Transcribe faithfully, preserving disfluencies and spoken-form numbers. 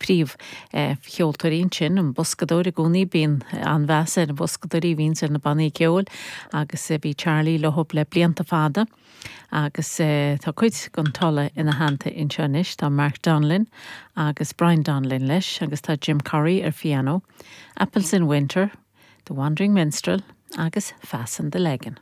Príomh eh, cheoltóirí sin an boscadóir i gcónaí bíonn an-mheas ar an boscadóirí bhíonn ar na bannaí ceoil agus eh, bhí Charlie leo le blianta fada. agus eh, tá cuid den tSuala ina theannta anseo anois tá Mark Donlin agus Brian Donlin leis agus tá Jim Curry ar piano, Apples in Winter, The Wandering Minstrel agus Fasten the Lagan.